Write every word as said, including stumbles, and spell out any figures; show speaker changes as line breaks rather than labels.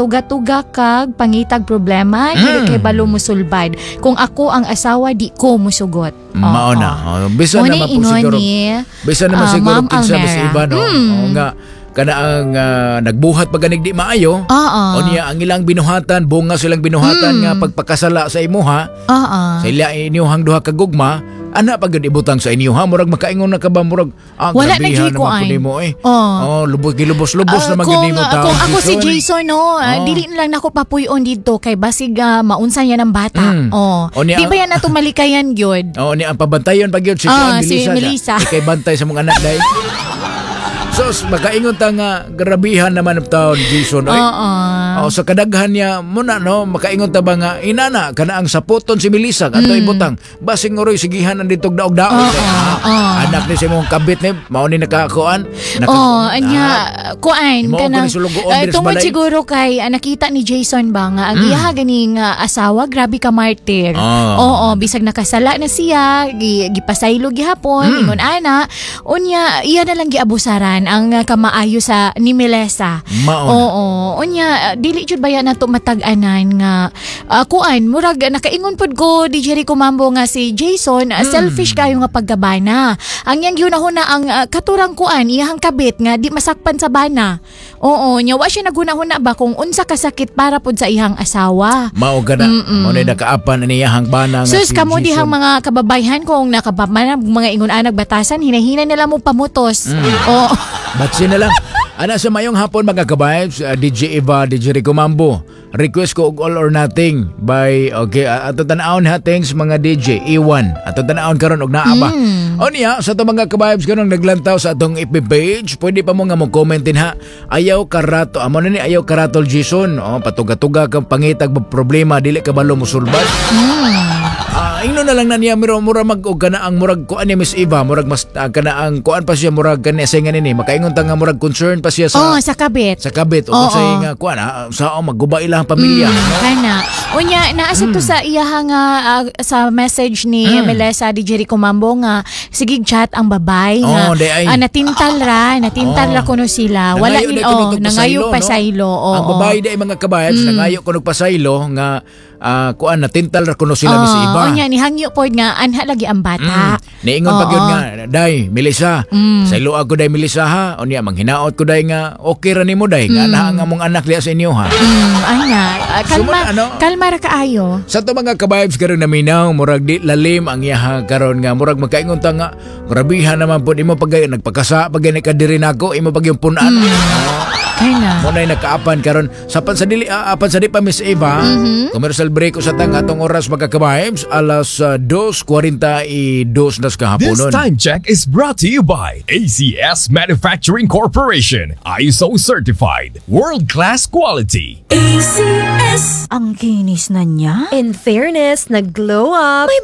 Patuga-tuga kag pangitag problema, mm. dili kay balo musulbad. Kung ako ang asawa, di ko musugot.
Mao na. Oh, bisan
Mo
naman po
ingon
siguro.
ni
Bisan naman
ah,
siguro
Ma'am
kinsa mas
Almera.
iba, no.
Mm.
Oo nga kana ang ah, nagbuhat pa ganig di maayo.
Oo.
O niya ang ilang binuhatan, bunga silang binuhatan
Mm.
nga pagpakasala sa imuha,
Oo.
sa ila inyuhang duha ka gugma, ana pa gyud ibutang sa inyuha, murag makaingon na ka ba, murag ah,
Wala na
grabihan
gyud
naman
kuan.
po nimo eh.
Oh.
Oh, lubos gilubos-lubos
Ah,
naman gyud
kung,
nimo
ah,
taon,
kung ako si Jason, no, ah,
Oh.
dili na lang nako papuyon dito kay basig ah, maunsa niya ng bata.
Mm.
Oh.
O niya-
Di ba yan nato malikayan gyud?
Oo, ni ang pabantayon pag yun si
Ah,
Kuan,
si
Melissa.
Melissa.
Ikay bantay sa mga anak dahil. Sos, makaingon ta nga grabihan naman ang taon Jason. Oy.
Oo.
Oh, sa kadaghan niya muna, no, makaingon ta ba nga inana kana ang saputon si Melissa ato ibutang basing oroy sigihan ang ditog daog-daog.
Mm. Oo,
Kay, ah,
oo.
Anak ni sa imong kabit ni mao ni nakakuan. Naka,
Oh, anya kuan
Imo ko
kanang
ni sulugoon
eh,
diri sa
tungod
balay.
Siguro kay ah, nakita ni Jason ba nga ang iyaha ganing ah, asawa, grabe ka martyr.
Ah.
Oo, bisag nakasala na siya, gi, gipasaylo gihapon,
Mm.
ingon ana. Unya iya na lang giabusaran ang ah, kamaayo sa ni Melissa.
Mao na.
Oo, unya ah, dili jud baya nato matag-anan nga ah, kuan, murag nakaingon pud ko, D J Rico Mambo, nga si Jason ah, selfish kayo nga pagkabana. Ang iyang gihunahuna ang ah, katurang kuan, iyahang kabit nga di masakpan sa bana. Oo, nya wa siya naghunahuna ba kung unsa kasakit para pud sa iyang asawa.
Mao ka na. Mao na nakaapan ani iyahang bana nga
Sus,
si
kamo
Jason.
dihang mga kababayhan, kung nakabamana mga ingon anag batasan, hinahina nila mo pamutos.
Mm.
Oo.
Batsi na lang. Ana sa mayong hapon, mga kabibes, uh, D J Eva, D J Rico Mambo. Request ko og All or Nothing by, okay, uh, ato tan-awon ha, thanks mga D J Iwan. Ato tan-awon karon og naa ba.
Mm.
O niya sa ato mga kabibes karon naglantaw sa atong F B page, pwede pa mo nga mo comment din ha. Ayaw karato, amo na ni ayaw karatol Jason. Oh, patuga-tuga kang pangitag problema, dili ka balo musulbad. Ah, ingno na lang na niya mura mura mag og kana ang murag kuan ni Miss Eva, murag mas uh, kana ang kuan pa siya, murag kani sa nga nini makaingon ta nga murag concern pa siya sa
Oh, sa kabit.
Sa kabit o
Oo.
sa nga kuan ah, sa oh, magguba ilang pamilya,
Mm,
no?
Kana. Unya, naa sa to
Mm.
sa iyaha nga ah, sa message ni Melissa, D J Rico Mambo, nga sige chat ang babay nga
Oh, di ay.
ah, natintal ra, natintal
Oh.
ra kuno sila. Wala
Nangayo
ni
di kuno
oh,
tog
nangayo
pasaylo, no?
pasaylo. Oo.
Ang babae di ay mga kabayats nangayo kuno pasaylo nga ah, kuan, natintal ra kuno sila Miss
Oh,
Eva.
Unya ni hangyo pod nga anha lagi ang bata.
Mm. Niingon pa
Oo.
gyud nga, "Day, Melissa, mm. saylo ako day, Melissa, ha. Unya manghinaot ko day nga okay ra nimo day nga naa ang among anak diha sa inyo ha."
Mm, ana, Ah, kalma,
Sumod, ano?
Kalma ra kaayo.
Sa to mga kabibes karon naminaw, murag di lalim ang iyaha karon nga murag makaingon ta nga grabihan naman pod imo pagay nagpakasa pag ka diri nako imo pag yung punan. Mm.
Kana.
Mo na'y nakaapan karon sa pan sa dili ah, apan sa di pa, Miss Eva. Commercial break usa tang atong oras, mga kabibes, alas uh, two forty-two na sa
This
kahaponon.
time check is brought to you by A C S Manufacturing Corporation, I S O certified, world-class quality.
A C S.
Ang kinis na niya.
In fairness, nag-glow up.
May